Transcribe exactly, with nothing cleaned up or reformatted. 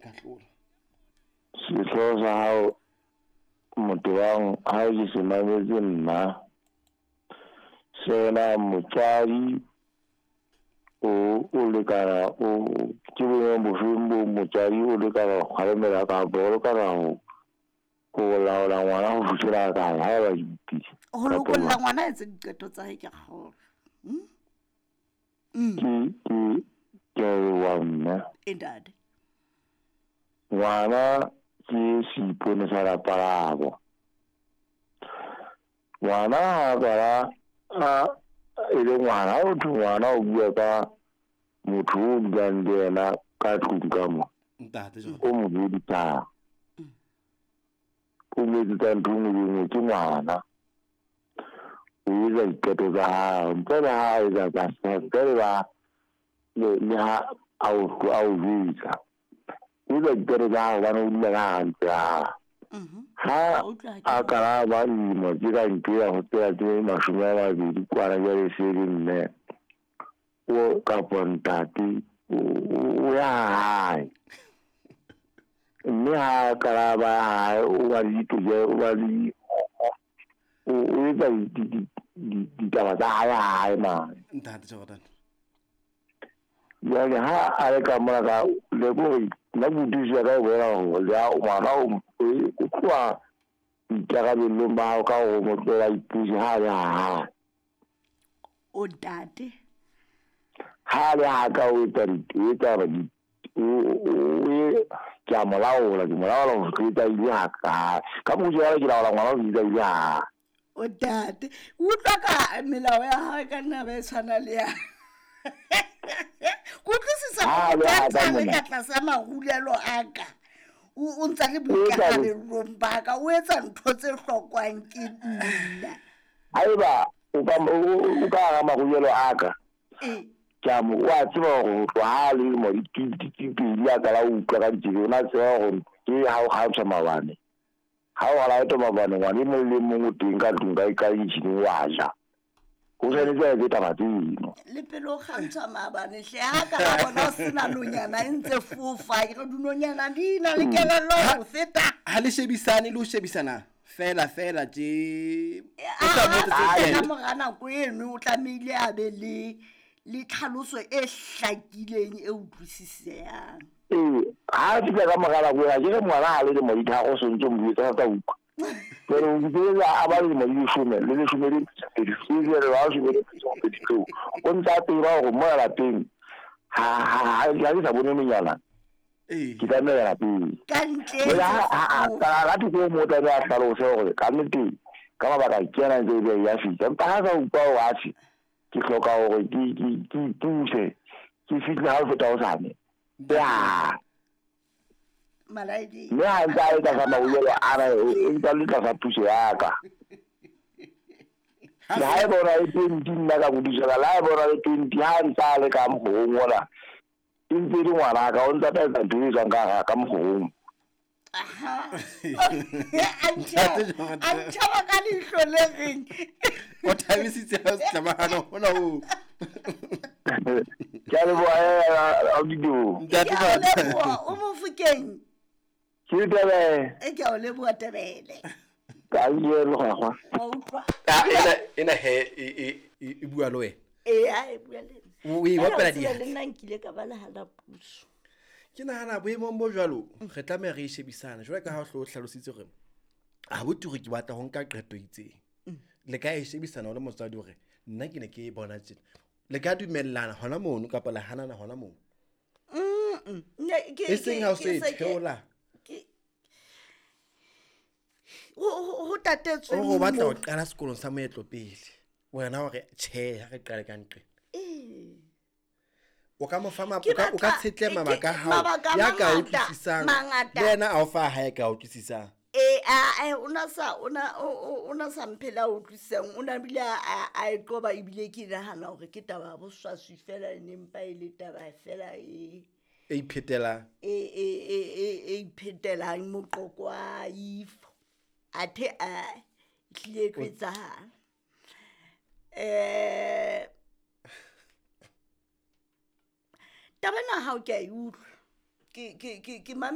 ka hlola. Sehlooho sa hao motho ha ke se mametse nna sena motswadi o o lekana o ke boemong bofeng bo motswadi o lekana ho kgalemela kapa o lekana ho ho laola ngwana ho fihlela kae ha eba ke ho lokolla ngwana a etse diqeto tsa hae ke kgolo. Ke ke ke a leboha mme. E ntate. Ngwana ke seipone sa lapa labo. Ngwana ha qala a e le ngwana, ha ho thwe ngwana o bua ka motho o dulang le yena ka tlung ka mo. Ntate O mo hodisang. O mo etsetsa ntho e nngwe le e nngwe ke ngwana. O etsa diqeto tsa hao ntle le ha a etsa tsa ntle le ba le ha a o a o jwetsa. O etsa diqeto tsa hao hobane o dula ka hara ntlo ya hao. Ha a qala ba dilemo tse ka ntho ya ho tsela tse mashome a mabedi kwana jwale se le mme o kapa ntate o ya hae. Mme ha qala ba hae o ba le ditokelo o ba le o etsa ditaba tsa hae hae mane. Ntate Jordan. Jwale ha a le ka mona ka le kore nna kutlwisiso ya ka e bolela hore le ha ngwana o o tloha boikarabellong ba hao ka hore o mo tlohela a ipuse ha a le ha hae. O ntate. Ha a le ha ka o etsa o etsa hore o ke a mo laola ke mo laola ho fihla ile ha ka ka mokgwa jwale ke laola ngwana ho fihla ile ha. O ntate, utlwa ka melao ya hae ka nna ba e tshwana le ya. Ke utlwisisa hore ka tlasa marulelo a ka o ntsa le boikarabellong ba ka, o etsa ntho tse hlokwang ke nna. Haeba o ka o ka hara marulelo a ka, ke a mo o a tseba hore ho tloha ha le lemo di pedi a qala ho utlwa ka ditsebe, o na tseba hore ke ha o kgantshwa maobane. Ha o laetwa maobane ngwana e mong le mong o teng ka tlung ka ka kitchen wa ja. O tshwanetse a etse taba tseno. Le pele o kgantshwa maobane hle ha ka ba bona o sena nonyana e ntse fofa, ke re dinonyana di na le kelello ho feta. Ha le shebisane le ho shebisana fela fela tje. O sa botse tse ka mora nako eno o tlamehile a be le le tlhaloso e hlakileng e utlwisisehang. Ee, ha fihla ka mora nako ena ke re ngwana ha le lemo di tharo o sontso mo jwetsa sa utlwa. Jwale o utlwela a ba lemo di leshome le leshome le pedi jwale ha o shebe le pedi tseo o ntsa tseba hore mo lapeng ha ha ha ke sa bone nonyana. Ee. Ke tlameha lapeng. Ka ntle. Ha ha ka thoko mo tla a hlalose hore ka nnete ka mabaka ke ena ntse e be ya fihla. Empa ha sa utlwa hore atjhe ke hloka hore ke ke ke ipuse ke fihle ha o feta hosane. Ya. Malaedi. Mme ha ntse a etsa sa marulelo ana e ntse a le tlasa puso ya ka. Le ha e bona le twenty nna ka modisela, le ha e bona le twenty ha ntse a le ka mokgorong ona e ntse e le ngwana ka o ntse a tla etsa ntho e tswang ka ka mokgorong. Aha. A ntjhaba ka leihlo le reng. O thabisitse ha o tlamahana hona ho. Ke a leboha Audido. Ntate Ke a leboha o Mofokeng. Ke Tebele. E ke a o leboha Tebele. Ka ile le gwa. Wa utlwa. Ena ena he e e bua le wena. E a e bua le nna. O e bapela di. Le nna nkile ka ba le hana puso. Ke nahana boemong bo jwalo re tlameha re shebisane jwale ka ha o hlo hlalositse hore a bo turi ke batla ho nka qeto itseng. Le ka e shebisana le motswadi hore nna ke ne ke e bona tjena. Le ka dumellana hona mono kapa le hanana hona mono. Mm. Ne ke e seng ha o se theola. Ke ho ho tatetswe. O batla ho qala sekolong sa moetlo pele. Wena hore tjhe ha re qale ka nqe. Eh. O ka mo fa o ka o ka tshetle mabaka hao ya ka utlwisisang. Le yena a o fa hae ka utlwisisang. E a o na sa o na o na sa mphela utlwisisang o na bile a e qoba ebile ke nahana hore ke taba ya boswaswi fela e nempa e le taba fela e e iphetelang e e e e iphetelang moqoqo wa ifo athe a tlile e etsahala. Eh taba ena ha o ke a e utlwa ke ke ke ke